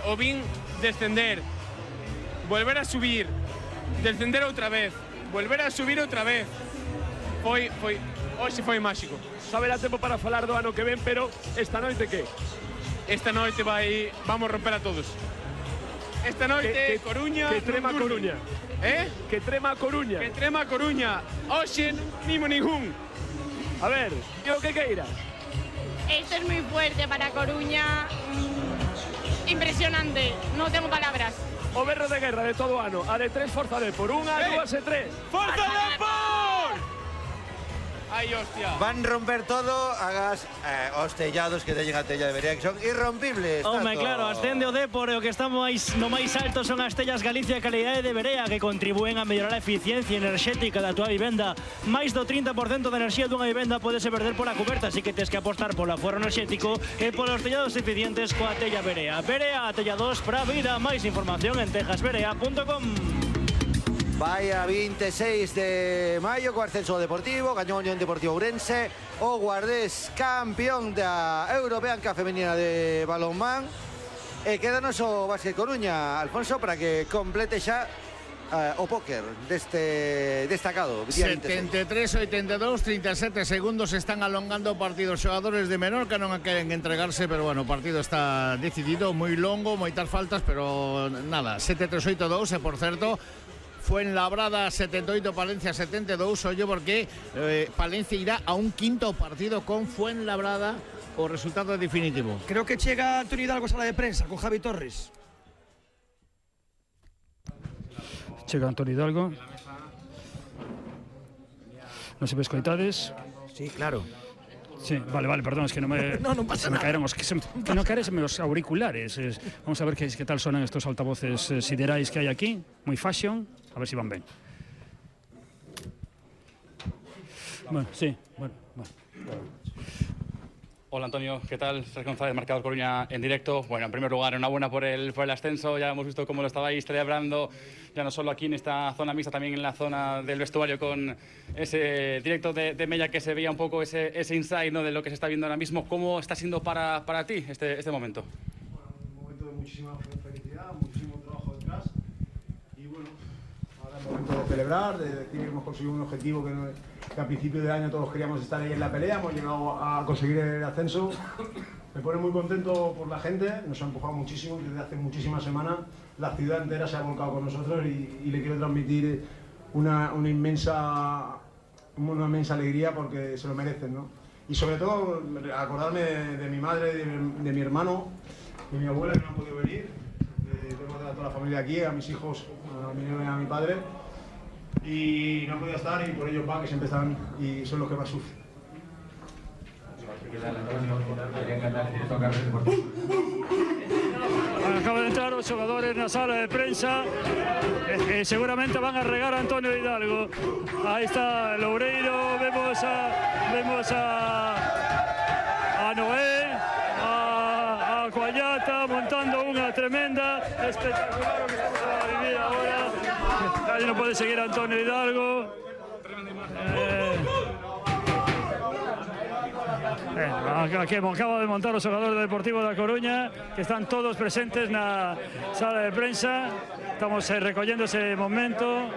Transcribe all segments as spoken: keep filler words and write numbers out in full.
o vin descender, volver a subir, descender outra vez, volver a subir outra vez. Foi, foi, hoxe foi máxico. Saberá tempo para falar do ano que ven, pero esta noite que? Esta noite vai, vamos romper a todos. Esta noite, que, que, Coruña... Que trema a Coruña. Eh? Que trema a Coruña. Que trema a Coruña. Hoxe nimo ningún. A ver, yo que queiras. Esto es muy fuerte para Coruña. Mm, impresionante, no tengo palabras. O berro de guerra de todo ano, a de tres Forza Depor, unha, eh. dúas e tres. Forza Depor! Ai, hostia. Van romper todo, hagas eh, os tellados que teñen a tella de Berea, que son irrompibles. Home, claro, ascende o Depor e o que está máis, no máis alto son as tellas Galicia e calidade de Berea que contribúen a mellorar a eficiencia enerxética da tua vivenda. Mais do trinta por cento da enerxía dunha vivenda podese perder pola coberta, así que tes que apostar polo aforro enerxético e polos tellados eficientes coa tella Berea. Berea, tellados pra vida. Máis información en tejas berea punto com. Vai a veintiséis de maio co ascenso deportivo, gañou Unión Deportivo Ourense, o Guardés campeón da European Cup femenina de balonmán. E quédanos o Básquet Coruña, Alfonso, para que complete xa uh, o póker deste destacado. setenta e tres a oitenta e dous, trinta e sete segundos, están alongando o partido. Os xogadores de Menorca non queren entregarse, pero bueno, o partido está decidido, moi longo, moitas faltas, pero nada, sete tres oito dous, e por certo, Fuenlabrada setenta e oito, Palencia setenta e dous, ollo porque eh, Palencia irá a un quinto partido con Fuenlabrada, o resultado definitivo. Creo que chega Antonio Hidalgo a sala de prensa con Javi Torres. Chega Antonio Hidalgo. Non se ves coitades? Sí, claro. Sí, vale, vale, perdón, es que no me... no, no pasa se me nada. caeron os, que, se, que no caeresen los auriculares. Es, vamos a ver qué, qué tal suenan estos altavoces eh, siderais que hay aquí. Muy fashion. A ver si van bien. Bueno, sí, bueno, bueno. Hola Antonio, ¿qué tal? Sergio González, Marcador Coruña en directo. Bueno, en primer lugar, enhorabuena por el, por el ascenso. Ya hemos visto cómo lo estabais celebrando, ya no solo aquí en esta zona mixta, también en la zona del vestuario, con ese directo de, de Mella que se veía un poco ese, ese insight, ¿no?, de lo que se está viendo ahora mismo. ¿Cómo está siendo para, para ti este, este momento? Bueno, un momento de muchísima felicidad, muchísimo trabajo detrás. Y bueno, ahora es momento de celebrar, de decir que hemos conseguido un objetivo que, no, que a principio de año todos queríamos estar ahí en la pelea. Hemos llegado a conseguir el ascenso. Me pone muy contento por la gente, nos ha empujado muchísimo desde hace muchísimas semanas. La ciudad entera se ha volcado con nosotros y, y le quiero transmitir una, una, inmensa, una inmensa alegría porque se lo merecen, ¿no? Y sobre todo acordarme de, de mi madre, de, de mi hermano, de mi abuela que no han podido venir. Eh, tengo a toda la familia aquí, a mis hijos, a mi novia y a mi padre. Y no han podido estar y por ellos va, que siempre están y son los que más sufren. Acaban de entrar os xogadores na sala de prensa e, e seguramente van a regar a Antonio Hidalgo. Aí está Loureiro, vemos a vemos a a Noé, a, a Coallata montando unha tremenda espectacular o que estamos a vivir agora. Aí non pode seguir Antonio Hidalgo. Eh, Eh, aquí acaba de montar os xogadores do Deportivo da Coruña, que están todos presentes na sala de prensa. Estamos eh, recollendo ese momento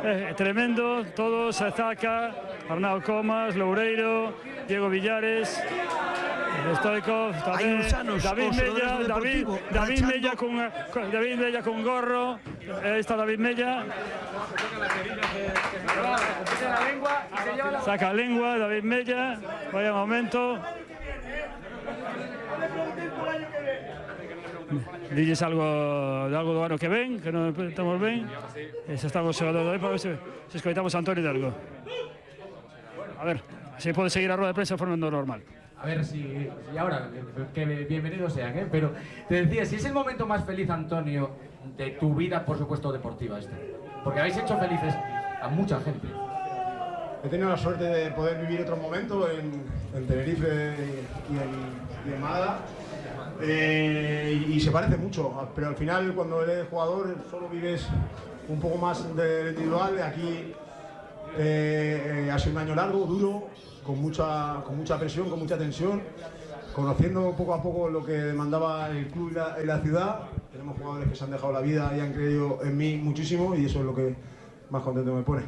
eh, tremendo. Todos, Zaca, Arnau Comas, Loureiro, Diego Villares, Stoikov, tamén David Mella, David, David Mella con, con David Mella con gorro. Ahí está David Mella. Saca lengua, David Mella. Vaya momento. Dilles algo de algo do ano que ven, que non estamos ben. Se estamos xogando aí para ver se, se escoitamos a Antonio Hidalgo. A ver, se pode seguir a rueda de prensa de forma normal. A ver si, y ahora, que bienvenidos sean, ¿eh? Pero te decía, si es el momento más feliz, Antonio, de tu vida, por supuesto, deportiva este. Porque habéis hecho felices a mucha gente. He tenido la suerte de poder vivir otro momento en, en Tenerife y en, y en Málaga. Eh, y, y se parece mucho, pero al final cuando eres jugador solo vives un poco más de individual. Aquí eh, eh, ha sido un año largo, duro, con mucha, con mucha presión, con mucha tensión, conociendo poco a poco lo que demandaba el club y la, y la ciudad. Tenemos jugadores que se han dejado la vida y han creído en mí muchísimo y eso es lo que más contento me pone.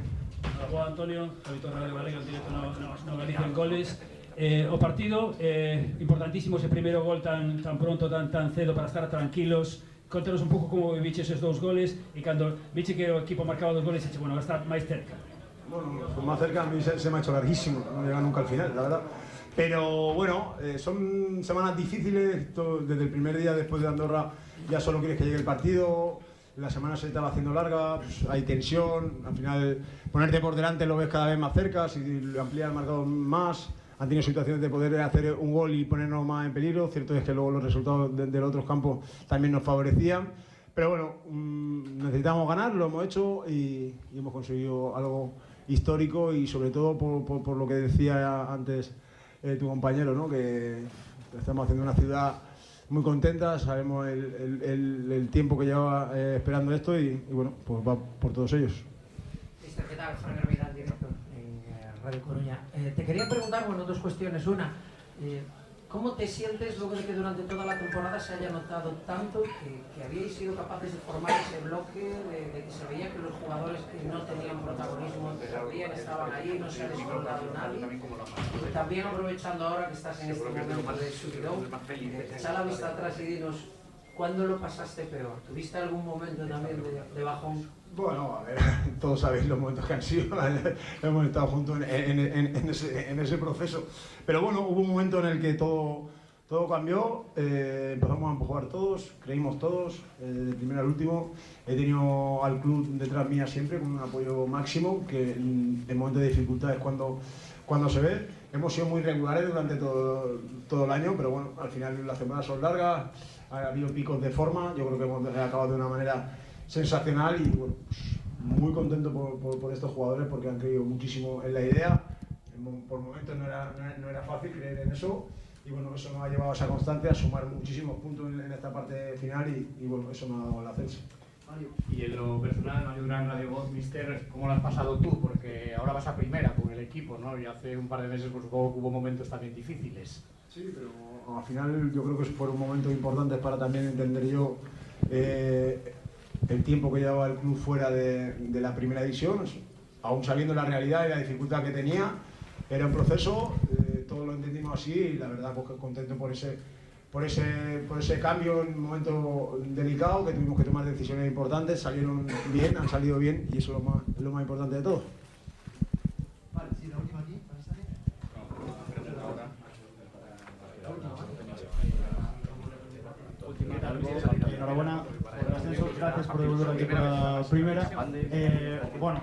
Juan Antonio, Javier Radio Galega, en directo no, no, no Galicia en goles. Eh, o partido, eh, importantísimo ese primeiro gol tan, tan pronto, tan, tan cedo para estar tranquilos. Contanos un pouco como viche esos dous goles e cando viche que o equipo marcaba dos goles, eche, bueno, va a estar máis cerca. Bueno, pues más cerca a mí se, se me ha hecho larguísimo, no llega nunca al final, la verdad. Pero bueno, eh, son semanas difíciles, todo, desde el primer día después de Andorra ya solo quieres que llegue el partido, la semana se estaba haciendo larga, pues hay tensión, al final ponerte por delante lo ves cada vez más cerca, si amplía el marcador más, han tenido situaciones de poder hacer un gol y ponernos más en peligro, cierto es que luego los resultados de, de los otros campos también nos favorecían, pero bueno, mmm, necesitamos ganar, lo hemos hecho y, y hemos conseguido algo histórico y sobre todo por, por, por lo que decía antes eh, tu compañero, ¿no? Que estamos haciendo una ciudad muy contenta, sabemos el, el, el, el tiempo que lleva eh, esperando esto y, y bueno, pues va por todos ellos. ¿Qué tal? Fran Hermida, en directo en eh, Radio Coruña. Eh, te quería preguntar, bueno, dos cuestiones. Una, eh, ¿cómo te sientes luego de que durante toda la temporada se haya notado tanto que, que habíais sido capaces de formar ese bloque, de, de que se veía que los jugadores que no tenían protagonismo también estaban ahí, no se ha descolgado nadie? Y también aprovechando ahora que estás en este momento de subidón, echa la vista atrás y dinos, ¿cuándo lo pasaste peor? ¿Tuviste algún momento también de, de bajón? Bueno, a ver, todos sabéis los momentos que han sido, hemos estado juntos en, en, en, en, ese, en ese proceso. Pero bueno, hubo un momento en el que todo, todo cambió, eh, empezamos a empujar todos, creímos todos, eh, de primero al último. He tenido al club detrás mía siempre con un apoyo máximo, que en, en momentos de dificultad es cuando, cuando se ve. Hemos sido muy regulares durante todo, todo el año, pero bueno, al final las temporadas son largas, ha habido picos de forma, yo creo que hemos acabado de una manera sensacional y bueno, pues muy contento por, por, por estos jugadores porque han creído muchísimo en la idea. Por momentos no era, no era, no era fácil creer en eso y bueno, eso nos ha llevado a esa constancia, a sumar muchísimos puntos en, en esta parte final y, y bueno, eso nos ha dado el ascenso. Y en lo personal, Mario Durán, Radio Voz, Mister, ¿cómo lo has pasado tú? Porque ahora vas a primera con el equipo, ¿no? Y hace un par de meses pues, supongo que hubo momentos también difíciles. Sí, pero al final yo creo que fueron momentos importantes para también entender yo eh, el tiempo que llevaba el club fuera de, de la primera división, aún sabiendo la realidad y la dificultad que tenía, era un proceso, eh, todos lo entendimos así y la verdad pues contento por ese, por, ese, por ese cambio en un momento delicado que tuvimos que tomar decisiones importantes, salieron bien, han salido bien y eso es lo más, es lo más importante de todo. Vale, sí, la última aquí, para estar ahí. Enhorabuena por el ascenso, gracias por volver aquí por la primera. Eh, bueno,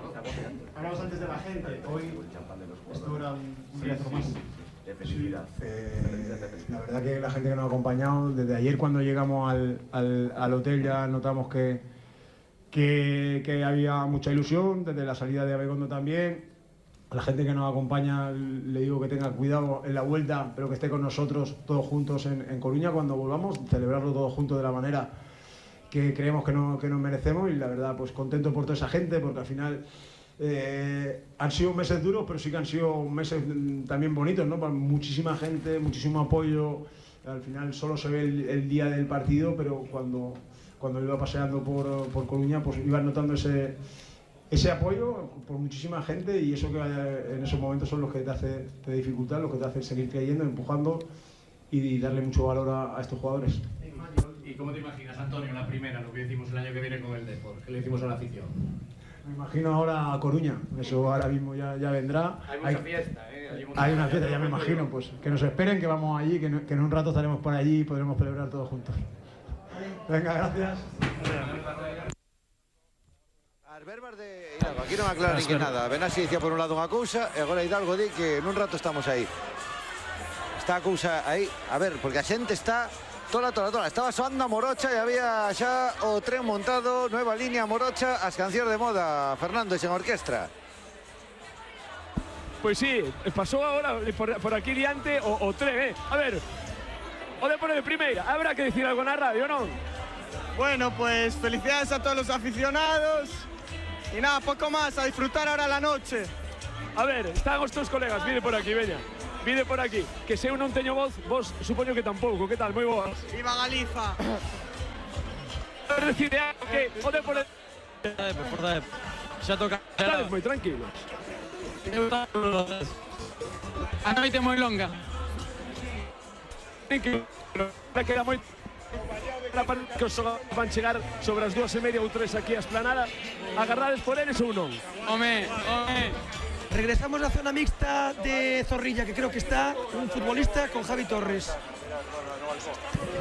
hablamos antes de la gente, hoy esto era un, un día más. Sí, eh, la verdad que la gente que nos ha acompañado, desde ayer cuando llegamos al, al, al hotel ya notamos que, que, que había mucha ilusión, desde la salida de Abegondo también. A la gente que nos acompaña le digo que tenga cuidado en la vuelta, pero que esté con nosotros todos juntos en, en Coruña cuando volvamos, celebrarlo todos juntos de la manera que creemos que, no, que nos merecemos y la verdad pues contento por toda esa gente porque al final eh, han sido meses duros pero sí que han sido meses también bonitos, ¿no? Para muchísima gente, muchísimo apoyo, al final solo se ve el, el día del partido pero cuando, cuando iba paseando por, por Coruña pues ibas notando ese ese apoyo por muchísima gente y eso que en esos momentos son los que te hace te dificultan, los que te hacen seguir creyendo, empujando y, y darle mucho valor a, a estos jugadores. ¿Y cómo te imaginas, Antonio, la primera, lo que decimos el año que viene con el Depor? ¿Qué le decimos a la afición? Me imagino ahora a Coruña, eso ahora mismo ya, ya vendrá. Hay mucha hay, fiesta, ¿eh? Hay, hay una fiesta, ya me imagino, pues que nos esperen, que vamos allí, que, no, que en un rato estaremos por allí y podremos celebrar todos juntos. Venga, gracias. Verbas de Hidalgo, aquí non aclara nin que nada. Benassi dicía por un lado unha cousa e agora Hidalgo di que nun rato estamos aí. Está a cousa aí, a ver, porque a xente está tola, tola, tola. Estaba soando a Morocha e había xa o tren montado, nueva línea Morocha, as cancións de moda, Fernando, e sen orquestra. Pois sí, pasou agora por, por aquí diante o, o tren, eh. A ver, o Depor de primeira, habrá que decir algo na radio, non? Bueno, pues felicidades a todos los aficionados. Y nada, poco más, a disfrutar ahora la noche. A ver, están os teus colegas, mire por aquí, veña. Pide por aquí, que se eu non teño voz, vos supoño que tampouco. Que tal? Moi boa. Viva Galiza. Decide algo que o Depor Por Dep. Xa toca. Estades moi tranquilos. A noite moi longa. Queda moi que os van chegar sobre as dúas e media ou tres aquí a Esplanada. Agardades por eles ou non? Home, home. Regresamos á zona mixta de Zorrilla, que creo que está un futbolista con Javi Torres.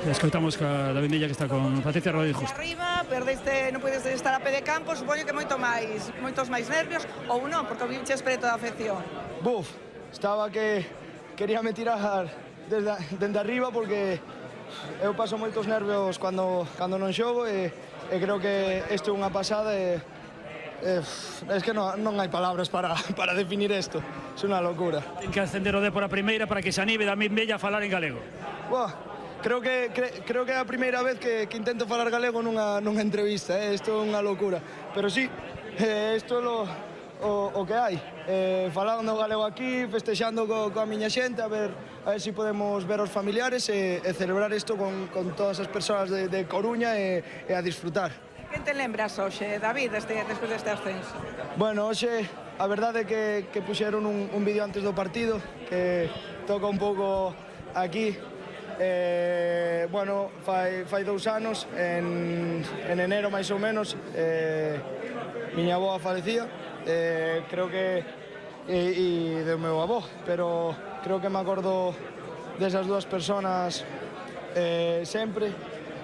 Escoitamos ca David Mella, que está con Patricia Rodríguez Justo. Arriba, perdeste, non podes estar a pé de campo, supoño que moito máis, moitos máis nervios, ou non, porque o viches preto da afección. Buf, estaba que quería me tirar desde, desde arriba porque eu paso moitos nervios cando, cando non xogo e, e creo que isto é unha pasada e Eh, es que non, non hai palabras para, para definir isto. É unha locura. Ten que ascender o Depor a primeira para que se anime David Mella a falar en galego. Buah, creo que cre, creo que é a primeira vez que, que intento falar galego nunha, nunha entrevista, eh? Isto é unha locura. Pero sí, eh, isto é lo, o, o que hai. Eh, falando galego aquí, festexando co, coa miña xente, a ver, a ver se si podemos ver os familiares e, e celebrar isto con, con todas as persoas de, de Coruña e, e a disfrutar. Que te lembras hoxe, David, este, despois deste ascenso? Bueno, hoxe a verdade é que, que puxeron un, un vídeo antes do partido que toca un pouco aquí. Eh, bueno, fai, fai dous anos, en, en enero máis ou menos, eh, miña avó falecía, eh, creo que e, e do meu avó, pero creo que me acordo desas dúas personas eh, sempre,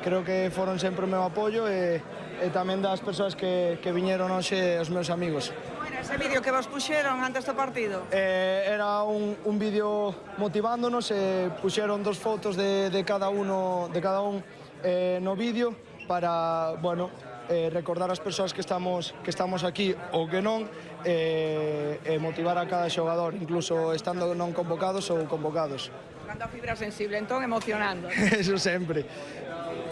creo que foron sempre o meu apoio e e tamén das persoas que, que viñeron hoxe os meus amigos. Como era ese vídeo que vos puxeron antes do partido? Eh, era un, un vídeo motivándonos e puxeron dos fotos de, de cada uno, de cada un eh, no vídeo para, bueno, eh, recordar as persoas que estamos, que estamos aquí ou que non e eh, eh, motivar a cada xogador, incluso estando non convocados ou convocados. Cando a fibra sensible, entón emocionando. Eso sempre.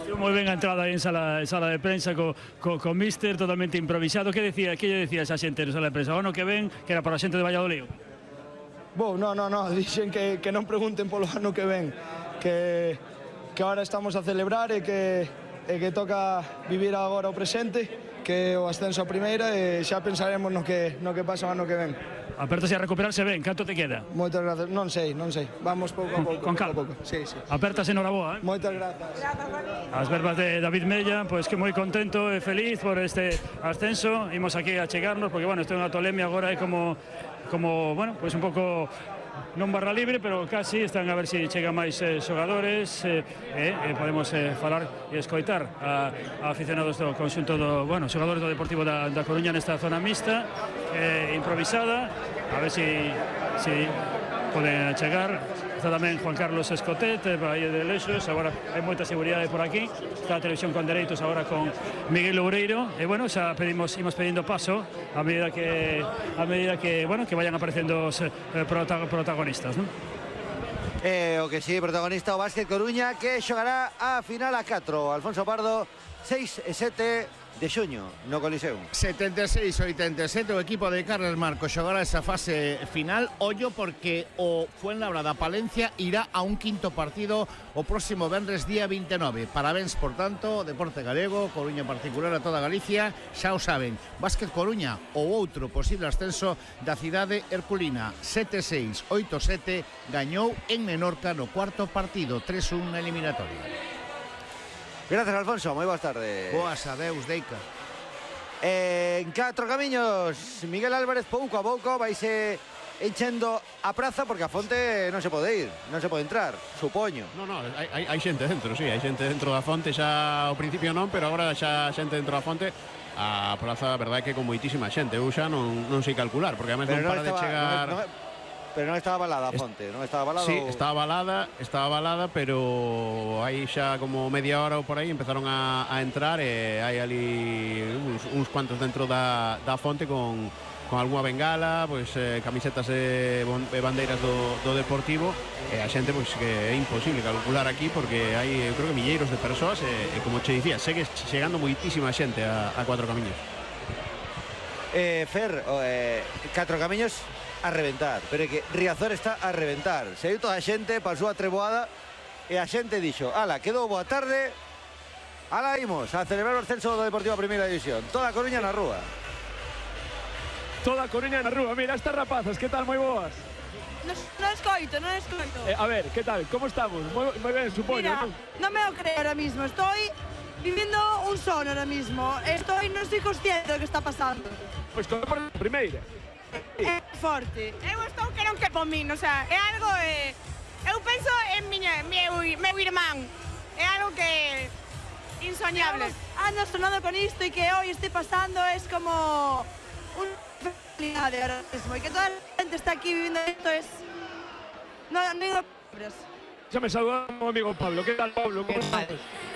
Moi ben a entrada aí en sala, sala de prensa co, co, co míster totalmente improvisado. Que decía, que lle decía esa xente en sala de prensa? O ano que ven, que era para a xente de Valladolid? Bo, no, no, no, dixen que, que non pregunten polo ano que ven, que, que ahora estamos a celebrar e que, e que toca vivir agora o presente, que o ascenso a primeira e xa pensaremos no que, no que pasa o ano que ven. Apertase a recuperarse ben, canto te queda? Moitas gracias, non sei, non sei, vamos pouco a pouco. Con calma. Sí, sí. Apertase enhoraboa, eh? Moitas grazas. As verbas de David Mella, pois que moi contento e feliz por este ascenso. Imos aquí a chegarnos, porque, bueno, isto é unha tolemia agora, é como, como, bueno, pois un pouco non barra libre, pero casi están a ver se si chegan máis eh, xogadores e eh, eh, podemos eh, falar e escoitar a, a aficionados do conxunto do, bueno, xogadores do Deportivo da, da Coruña nesta zona mixta eh, improvisada, a ver se si, si poden chegar. Está tamén Juan Carlos Escotet, eh, aí de Lexos, agora hai moita seguridade por aquí. Está a Televisión con Dereitos agora con Miguel Loureiro. E bueno, xa pedimos, imos pedindo paso a medida que a medida que, bueno, que vayan aparecendo os eh, protagonistas, non? Eh, o que sí, protagonista o Básquet Coruña, que xogará a final a catro. Alfonso Pardo, seis e sete de xuño no Coliseum. setenta e seis a oitenta e sete o equipo de Carles Marcos xogará esa fase final. Ollo porque o Fuenlabrada Palencia irá a un quinto partido o próximo venres día vinte e nove. Parabéns, por tanto, Deporte Galego, Coruña en particular, a toda Galicia. Xa o saben, Básquet Coruña ou outro posible ascenso da cidade herculina. Sete seis, oito sete, gañou en Menorca no cuarto partido, tres un na eliminatoria. Gracias, Alfonso, moi boas tardes. Boas, adeus, Deica. Eh, en catro camiños, Miguel Álvarez pouco a pouco vaise enchendo a praza porque a fonte non se pode ir, non se pode entrar, supoño. No, no, hai, hai xente dentro, sí, hai xente dentro da fonte, xa ao principio non, pero agora xa xente dentro da fonte. A praza, a verdade é que con moitísima xente, eu xa non, non sei calcular, porque además non para de chegar... Non, non, Pero non estaba balada a fonte, non estaba balada? Sí, ou... estaba balada, estaba balada, pero aí xa como media hora ou por aí empezaron a, a entrar e hai ali uns, uns cuantos dentro da, da fonte con, con algunha bengala, pois, eh, camisetas e, e bandeiras do, do Deportivo, e a xente pois, que é imposible calcular aquí porque hai, eu creo que milleiros de persoas e, e como che dicía, segue chegando moitísima xente a, a Cuatro Camiños. Eh, Fer, eh, Catro Camiños a reventar, pero é que Riazor está a reventar. Saiu toda a xente, pasou a treboada e a xente dixo, ala, quedou boa tarde, ala imos a celebrar o ascenso do Deportivo a Primeira División. Toda a Coruña na rúa. Toda a Coruña na rúa. Mira, estas rapazas, que tal? Moi boas. Non escoito, non escoito. Eh, a ver, que tal? Como estamos? Moi, moi ben, supoño. Mira, non me lo creo ahora mismo. Estoy vivindo un son ahora mismo. Estoy, non estoy consciente do que está pasando. Pois con por primeira. É forte. Eu estou que non que por min, o sea, é algo... Eh, eu penso en miña, meu, meu irmán. É algo que... insoñable. Ando sonando con isto e que hoy esté pasando es como... un... felicidade ahora mismo. E que toda a gente está aquí vivindo isto es... non digo palabras. Xa me saluda o amigo Pablo. Que tal, Pablo? Como estás?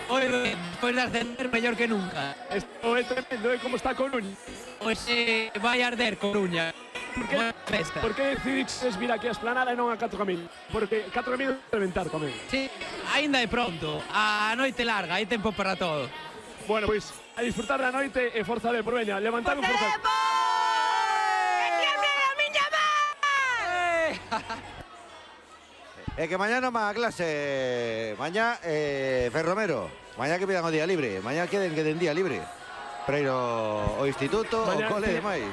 Hoy, después de ascender, mellor que nunca. Esto é tremendo, ¿eh? Como está Coruña? Pois eh, vai arder Coruña. Por que, por que decidiches vir aquí a Esplanada e non a catro camiños? Porque catro camiños é reventar tamén. Sí, aínda é pronto. A noite larga, hai tempo para todo. Bueno, pois, a disfrutar da noite e forza de por veña. Levantar un forza. É que mañá non va a clase. Mañá, eh, Ferromero. Mañá que pidan o día libre. Mañá queden que den día libre. Para ir ao instituto, ao cole e demais.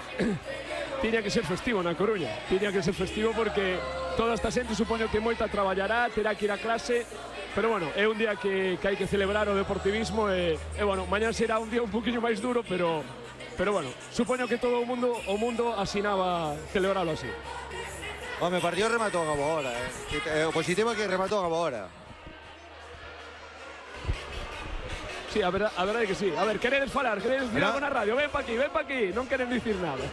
Tiña que ser festivo na Coruña. Tiña que ser festivo porque toda esta xente supoño que moita traballará, terá que ir a clase. Pero bueno, é un día que, que hai que celebrar o deportivismo e, e bueno, mañá será un día un poquinho máis duro, pero pero bueno, supoño que todo o mundo o mundo asinaba celebrarlo así. Home, partido rematou a boa hora, eh. O positivo é que rematou a boa hora. Sí, a verdade, a verdade que sí. A ver, queredes falar, queredes decir algo na radio? Ven pa aquí, ven pa aquí. Non queren dicir nada.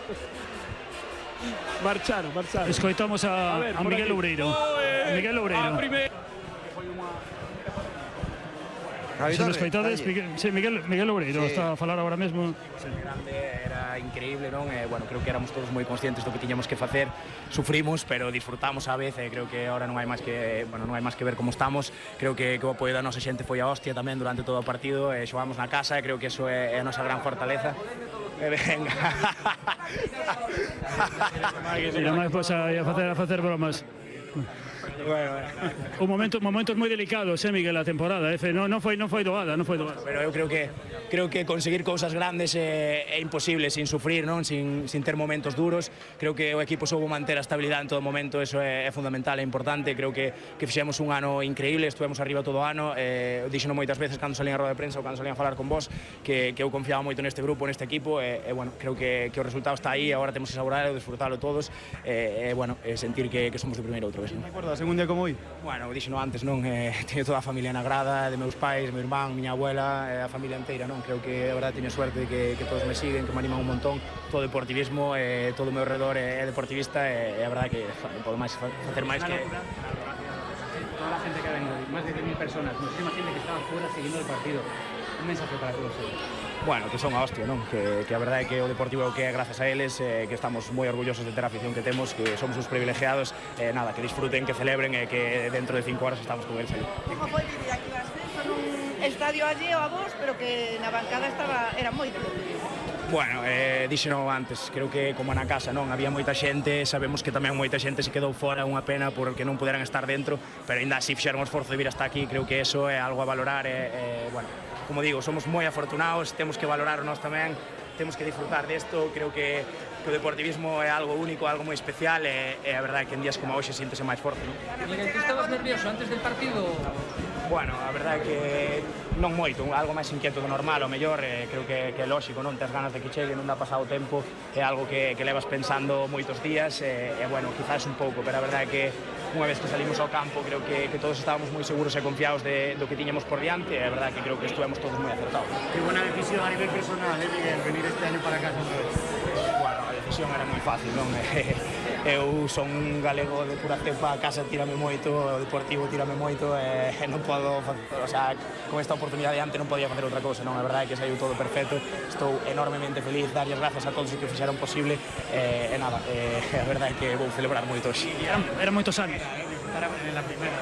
Marcharon, marcharon. Escoitamos a, a, ver, a Miguel Loureiro. Oh, eh, a Miguel Loureiro. A primeira... Se nos escoitades, Miguel, sí, Miguel, Miguel Loureiro sí. Está a falar agora mesmo. Sí. Grande, era increíble, non? Eh, bueno, creo que éramos todos moi conscientes do que tiñamos que facer. Sufrimos, pero disfrutamos a vez. Eh, creo que ahora non hai máis que, bueno, non hai máis que ver como estamos. Creo que, que o apoio da nosa xente foi a hostia tamén durante todo o partido. Eh, xogamos na casa e creo que eso é, é a nosa gran fortaleza. Eh, venga. Mira, máis pois a facer, a facer bromas. Bueno, bueno. Un momento, momentos moi delicados, eh, Miguel, a temporada, eh? non, non foi non foi doada, non foi doada. Pero eu creo que creo que conseguir cousas grandes é, é imposible sin sufrir, non? Sin, sin ter momentos duros. Creo que o equipo soubo manter a estabilidade en todo momento, eso é, é fundamental, é importante. Creo que que fixemos un ano increíble, estuvemos arriba todo o ano. Eh, dixeno moitas veces cando salín a roda de prensa ou cando salín a falar con vos que, que eu confiaba moito neste grupo, neste equipo e, e bueno, creo que, que o resultado está aí, agora temos que saborealo, disfrutalo todos e, e bueno, e sentir que, que somos de primeiro outra vez, non? Recordas un día como hoy? Bueno, dixeno antes, non? Eh, teño toda a familia na grada, de meus pais, meu irmán, miña abuela, eh, a familia inteira, non? Creo que, a verdade, teño suerte de que, que todos me siguen, que me animan un montón. Todo o deportivismo, eh, todo o meu redor é, é deportivista e, e a verdade que non podo máis facer máis que... Toda a gente que ha venido, máis de diez mil personas, muchísima gente que estaba fuera seguindo o partido. Un mensaje para todos ellos. Bueno, que son a hostia, non? Que, que a verdade é que o Deportivo é o que é gracias a eles, eh, que estamos moi orgullosos de ter a afición que temos, que somos os privilegiados, eh, nada, que disfruten, que celebren e eh, que dentro de cinco horas estamos con eles aí. Como foi vivir aquí o ascenso nun estadio alleo a vos, pero que na bancada estaba, era moito. Bueno, eh, dixeno antes, creo que como na casa, non? Había moita xente, sabemos que tamén moita xente se quedou fora, unha pena porque non puderan estar dentro, pero ainda así fixeron o esforzo de vir hasta aquí, creo que eso é algo a valorar e, eh, bueno, como digo, somos moi afortunados, temos que valorar nós tamén, temos que disfrutar desto, creo que, que o deportivismo é algo único, algo moi especial e, e a verdade é que en días como hoxe síntese máis forte, non? Miguel, tú estabas nervioso antes del partido? Bueno, a verdade é que non moito, algo máis inquieto do normal, o mellor, eh, creo que, que é lógico, non? Tes ganas de que chegue, non dá pasado o tempo, é algo que, que levas pensando moitos días, e, e bueno, quizás un pouco, pero a verdade é que unha vez que salimos ao campo, creo que, que todos estábamos moi seguros e confiados de, do que tiñamos por diante, e a verdade é que creo que estuvemos todos moi acertados. Qué buena decisión a nivel personal, eh, Miguel, venir este año para casa otra vez. Bueno, a decisión era moi fácil, non? Eu son un galego de pura cepa, a casa tírame moito, o Deportivo tírame moito e non podo, o sea, con esta oportunidade antes non podía facer outra cousa, non? A verdade é que saiu todo perfecto, estou enormemente feliz, darlles grazas a todos os que fixeron posible e, e nada, e, a verdade é que vou celebrar moito hoxe. Eran, eran moitos anos. En la primera,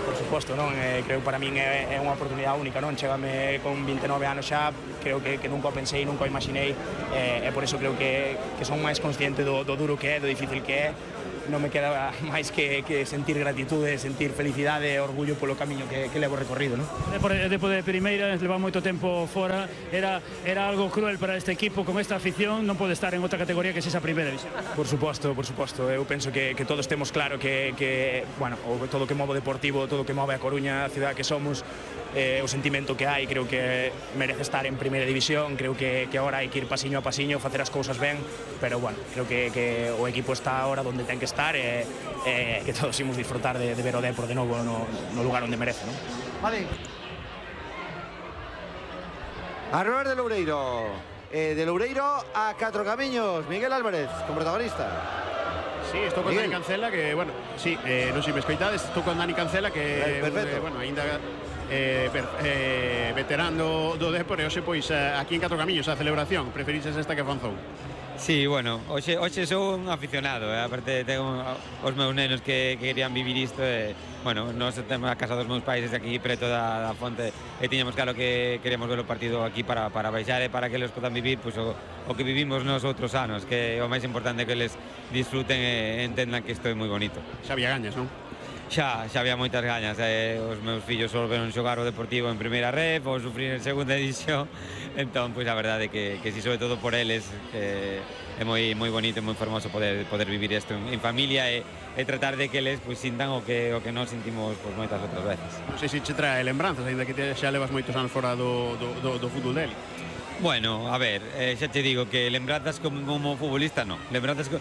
por supuesto. suposto, non? Eh, creo que para min é, é unha oportunidade única, non? Chégame con vinte e nove anos xa, creo que, que nunca o pensei, nunca o imaginei, e, e por eso creo que, que son máis consciente do, do duro que é, do difícil que é. Non me queda máis que, que sentir gratitude, sentir felicidade e orgullo polo camiño que, que levo recorrido, non? Depo de primeira, leva moito tempo fora, era, era algo cruel para este equipo, con esta afición non pode estar en outra categoría que se esa primeira división. Por suposto, por suposto, eu penso que, que todos temos claro que, que bueno, todo o que move o Deportivo, todo o que move a Coruña, a cidade que somos, eh, o sentimento que hai, creo que merece estar en primeira división, creo que, que agora hai que ir pasiño a pasiño, facer as cousas ben, pero bueno, creo que, que o equipo está agora onde ten que estar e, e que todos imos disfrutar de, de ver o Depor de novo no, no lugar onde merece, non? Vale. A Robert de Loureiro. Eh, de Loureiro a Catro Camiños. Miguel Álvarez, como protagonista. Sí, estou con Dani Cancela, que, bueno, sí, eh, non sei me escoitades, estou con Dani Cancela, que, perfecto. Eh, bueno, ainda eh, ver, eh, veterano do Depor, e hoxe, pois, eh, aquí en Catro Camiños, a celebración, preferiches esta que Fanzón? Sí, bueno, hoxe, hoxe sou un aficionado, eh? Aparte tengo os meus nenos que, que querían vivir isto, e, bueno, nós temos a casa dos meus pais desde aquí, preto da, da fonte, e tiñamos claro que queremos ver o partido aquí para, para baixar e para que eles podan vivir pues, o, o que vivimos nos outros anos, que o máis importante é que eles disfruten e entendan que isto é moi bonito. Xa había gañas, non? Xa, xa había moitas gañas, eh, os meus fillos só veron xogar o Deportivo en primeira ref ou sufrir en segunda división, entón, pois a verdade é que, que si sobre todo por eles eh, é moi moi bonito e moi fermoso poder poder vivir isto en, en familia e, e tratar de que eles pois sintan o que o que nós sentimos pois moitas outras veces. Non sei se che trae lembranzas, ainda que te, xa levas moitos anos fora do, do, do, do fútbol dele. Bueno, a ver, eh, xa te digo que lembranzas como, como futbolista non. Lembranzas co...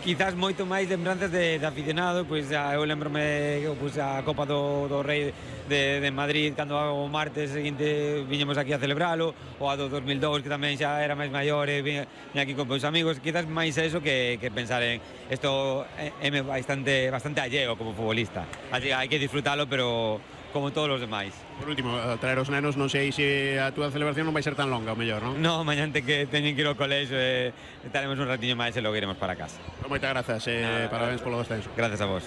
quizás moito máis lembranzas de, de aficionado, pois a, eu lembrome pois, a Copa do, do Rei de, de Madrid cando o martes seguinte viñemos aquí a celebralo, ou a do dos mil dous que tamén xa era máis maior e viña aquí con meus amigos, quizás máis eso que, que pensar en isto é, é bastante, bastante alleo como futbolista. Así hai que disfrutalo, pero como todos os demais. Por último, traer os nenos, non sei se a túa celebración non vai ser tan longa, o mellor, non? No, mañante que teñen que ir ao colexo e estaremos un ratiño máis e logo iremos para casa. Moitas grazas e eh, parabéns polo descenso. Gracias a vos.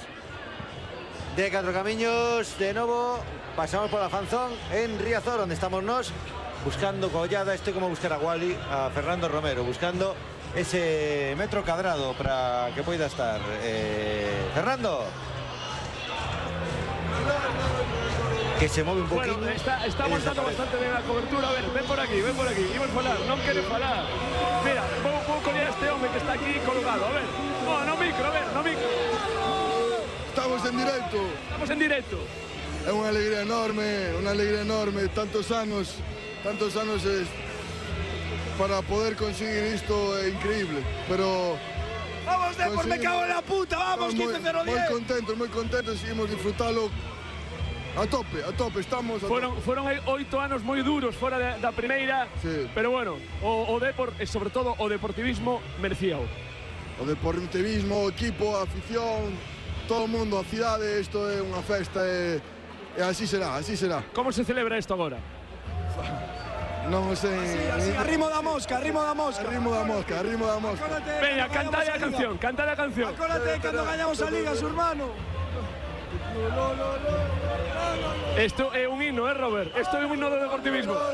De Catro Camiños, de novo, pasamos por la Fanzón en Riazor, onde estamos nos buscando collada. Esto é como buscar a Wally, a Fernando Romero, buscando ese metro cadrado para que poida estar. Eh, Fernando. Que se move un poquinho. Bueno, está, estamos dando bastante ben a cobertura. A ver, ven por aquí, ven por aquí. Imos falar, non quere falar. Mira, vou, vou coller a este home que está aquí colgado. A ver, oh, no micro, a ver, no micro. Estamos en directo. Estamos en directo. É unha alegría enorme, unha alegría enorme. Tantos anos, tantos anos es, para poder conseguir isto é increíble. Pero... Vamos, Depor, me cago en la puta, vamos, quince cero diez. Moi contentos, moi contentos, seguimos disfrutalo. A tope, a tope, estamos a Foron, tope. foron oito anos moi duros fora da, da primeira, sí. Pero bueno, o, o Depor e sobre todo o deportivismo merecíao. O deportivismo, o equipo, a afición, todo o mundo, a cidade, isto é unha festa e, e así será, así será. Como se celebra isto agora? Non sei... Así, así, arrimo da mosca, arrimo da mosca. Arrimo da mosca, arrimo da mosca. Veña, cantade a canción, cantade a canción. Acórdate cando gañamos a Liga, su hermano. Esto é un himno, eh, Robert? Esto é un himno do deportivismo. ¡Somos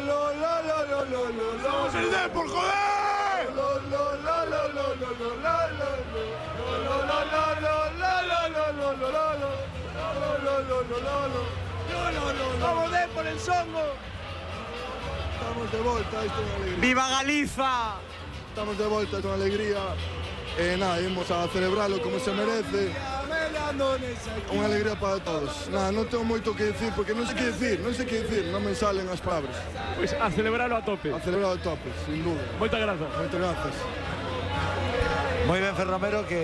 el Depor, joder! ¡Vamos, Depor, el songo! Estamos de volta, isto é unha alegría. ¡Viva Galiza! Estamos de volta, é unha alegría. E nada, imos a celebralo como se merece. Unha alegría para todos. Nada, non tengo moito que decir, porque non sei que decir, non sei que decir, non me salen as palabras. Pois a celebralo a tope. A celebralo a tope, sin duda. Moitas grazas. Moitas grazas. Moi ben, Fer Romero, que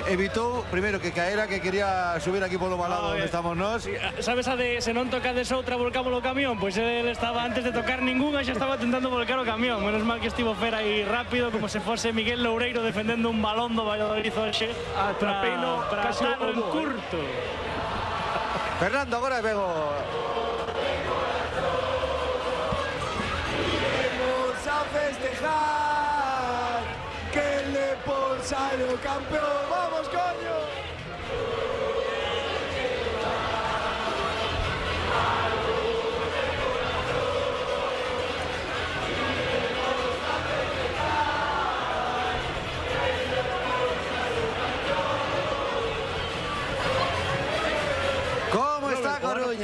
evitou primeiro que caera, que quería subir aquí polo balado onde estamos nós. Sabes a de se non tocades outra volcamos o camión? Pois ele estaba antes de tocar ningunha xa estaba tentando volcar o camión. Menos mal que estivo Fer aí rápido, como se fose Miguel Loureiro defendendo un balón do Valladolid hoxe. Atrapeino para casi estar o en curto. Fernando, agora vego. Vamos a festejar que el Depor salió campeón. ¡Vamos, coño!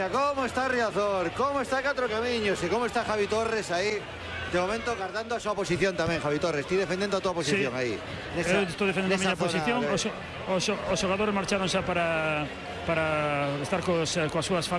Coruña, como está Riazor, como está Catro Camiños e como está Javi Torres aí. De momento cargando a súa posición tamén, Javi Torres. Ti defendendo a túa posición sí. aí. Nesa, Eu estou defendendo a miña posición. De... Os, os, os xogadores marcharon xa para, para estar cos, coas súas familias.